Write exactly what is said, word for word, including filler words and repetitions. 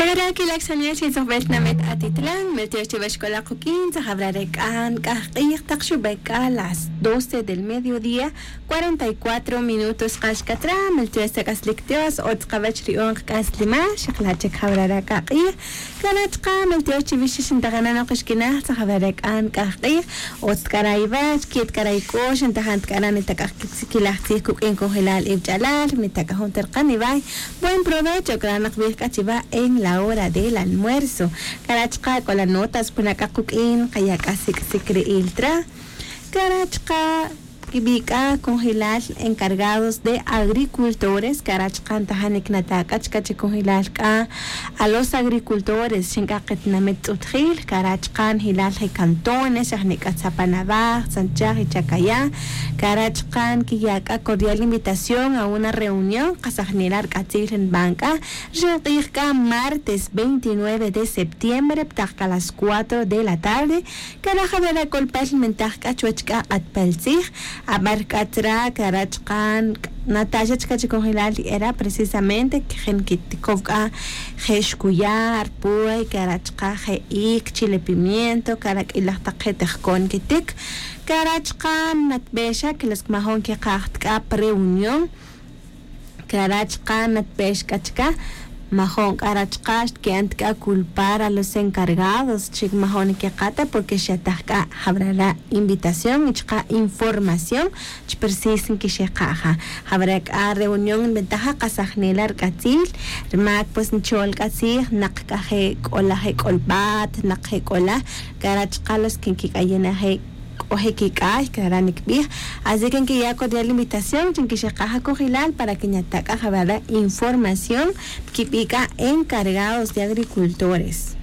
Jawara' quilaj xanel chi tzojbel tinamit atitlan miltiox chiwe xc'ola q'uq'uin tzajawara' re c'a nc'aj k'ij tak xubac c'a las doce del mediodía, cuarenta y cuatro minutos kax c'a tra miltiox tzak'aslic dios o tzakawech ri'on kac'aslimal xakla' chic jawara' re c'a k'ij. Cara' chka' miltiox chiwe xix ntajananok xquinaj tzajawara' re c'a nc'aj k'ij. Otz tik'ara' iwach quit k'ara' ic'ox ntajan tik'ara' nitak'aj quitzikilaj tzij cuq'uin conjelal iwch'alal nitak'aj jun terkan iway. Buen provecho cranak bij c'a chiwa en la hora del almuerzo. Cara' chka' c'o la notas puna c'a kuq'uin kaya c'a sic'sic ri'il tra. Cara' chka' quibi' c'a conjelal encargados de agricultores cara' chka' ntajanic nata' c'a chca chi conjelal c'a a los agricultores xin c'a ketinamit tz'utjil cara' chka' njilal je cantones xajni c'a tzapanavaj tzanchaj y chacaya. Cara' chka' nquiya' c'a cordial invitación a una reunión kasajnela' rc'atzil nban c'a rixin k'ij c'a martes veintinueve de septiembre ptak c'a las cuatro de la tarde. Cara' jawara' c'olpal nmentaj c'a chuwech c'a k'atpal tzij. Abar c'a tzra' cara' chka' nataxa chka' chi conjelal era precisamente quejin quiticow c'a je' xcuya' rpuy cara' chka' je' ic chile pimiento cara' q'uilaj tak je' tejcon quitic. Cara' chka' natbexa que los majon quikaj ta c'a pa reunión. Cara' chka' natbex c'a chca' majon c'a ra chka' xtqui'an ta c'a culpar a los encargados chi majon niqueka' ta porque xataj c'a jawara' invitación y chka' información. Chi precis nquixeka'a' ja jawara' c'a reunión nbentaja kasajnela' rc'atzil. Rmac pues nchol c'a tzij nak c'a je c'ola je c'olbat nak je c'ola cara' chka' los que nquic'ayena' je c'o je quic'ay cara' nicbij. Así que nquiya' cordial invitación chi nquixeka'a' ja conjelal para que nyata' c'a jawara' información quibi' c'a encargados de agricultores.